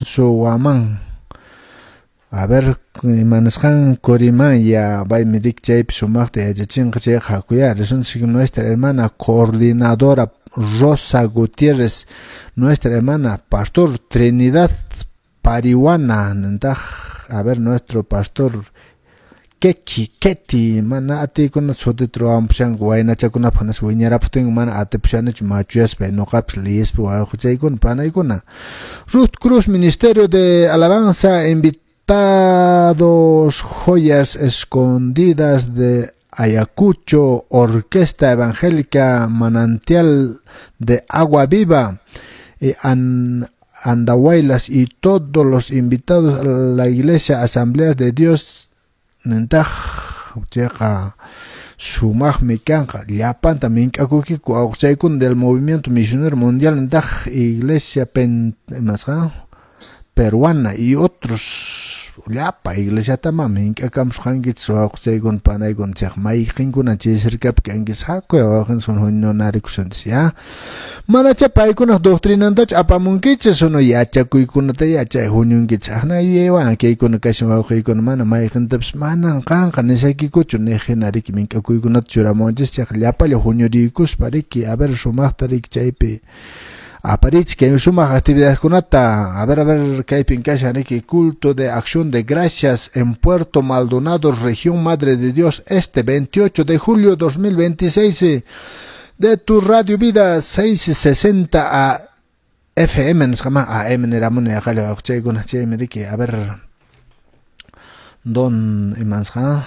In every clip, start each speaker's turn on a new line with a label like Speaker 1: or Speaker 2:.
Speaker 1: Huamán. A ver, imanasqan Corimanya, paymi riki chaypi sumaqta yachachinqa chayqa hakuyá risunchik. Nuestra hermana coordinadora Rosa Gutiérrez, nuestra hermana pastor Trinidad Pariwana, nintaq, a ver, nuestro pastor Keki, Keti, mana atiykuna sutita ruwampushanku waynachakunapaq nispa wiñarapuptin mana atipushanichu machuyaspa ñuqapis liyispa wawqichaykuna panaykuna. Ruth Cruz, Ministerio de Alabanza, invitados Joyas Escondidas de Ayacucho, Orquesta Evangélica Manantial de Agua Viva, Andahuaylas y todos los invitados a la Iglesia Asambleas de Dios, nintaq chayqa sumaqmi kanqa llapanta mink'akuykiku awqachaykuna del Movimiento Misionero Mundial, nintaq Iglesia imasqa Peruana y otros llapa iglesiatama mink'akamusqankichis wawqichaykuna panaykuna chayqa mayqinkuna chay cercapi kankichis hakuy wawqinchis huñunarikusunchis ya manacha paykunaq doctrinantachu apamunkichis sino yachakuykunata yachay huñunkichis aqna yuyaywan kaykuna kashan wawqiykuna mana mayqintapis manan qanqa nisaykikuchu niq hina riki mink'akuykunata churamuwanchis chayqa llapalla huñuriykuspa riki a ver sumaqta riki chaypi aparichik kay sumaq actividadkunata. A ver, kaypin kashan riki culto de acción de gracias en Puerto Maldonado, región Madre de Dios, este 28 de julio 2026, de tu Radio Vida 660 a FM nisqama AM niramuni aqalla wawqichaykuna chaymi riki a ver don imansqa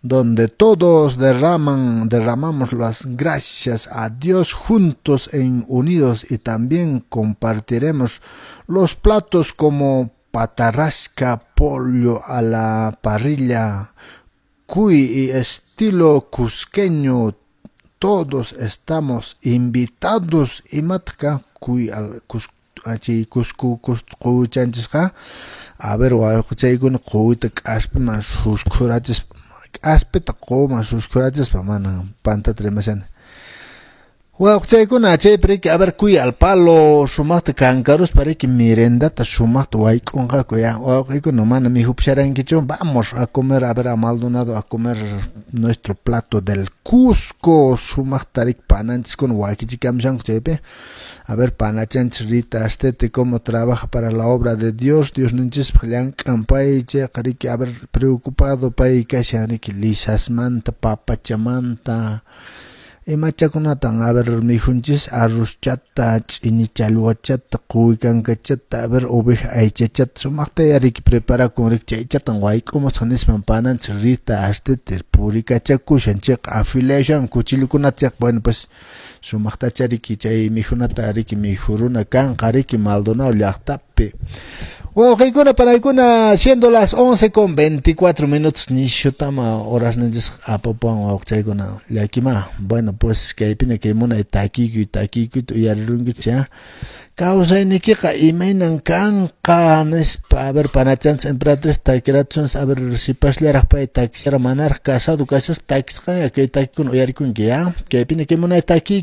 Speaker 1: donde todos derramamos las gracias a Dios juntos en unidos y también compartiremos los platos como patarrasca, pollo a la parrilla, cuy y estilo cusqueño. Todos estamos invitados. Imatka cuy al chay Cusco quwichanchisqa a ver wawqichaykuna quwita k'aspiman suskhurachispa k'aspita quwman suskhurachispa mana pantata rimashani wawqichaykuna chaypi riki a ver cuy al palo sumaqta kankaruspa riki merendata sumaqta wayk'unqaku ya wawqiykuna mana mikhupusharankichu vamos a comer a ver a Maldonado a comer nuestro plato del Cusco sumaqta riki pananchiskuna wakichikamushanku chaypi a ver panachanchis Rita Astete cómo trabaja para la obra de Dios, Dios ninchispaq llank'an pay chayqa riki a ver preocupado pay kashan riki lisasmanta papachamanta imachakunatan a ver mikhunchis arrozchata ch'ini challwachata quwi kankachata a ver oveja aychachata sumaqta riki preparakun riki chaychatan wayk'umusaq nispan pananchis Rita Astete purikachakushan chayqa afilashan cuchillukunata chayqa bueno pues sumaqtacha riki chay mikhunata riki mikhuruna kanqa riki Maldonado llaqtapi. Wawqiykuna panaykuna siendo las 11:24 nishutama horas ninchis apapuwan wawqichaykuna llakima bueno pues kaypina kay munay takiykuy takiykuyta uyarirunkichis ya kawsaynikiqa imaynan kanqa nispa a ver panachanchis emperatriz takiratunchis a ver sipasllaraq pay takishara manaraq casado kashaspa takisqaña kay takikuna uyarikunki ya kaypina kay munay takiy.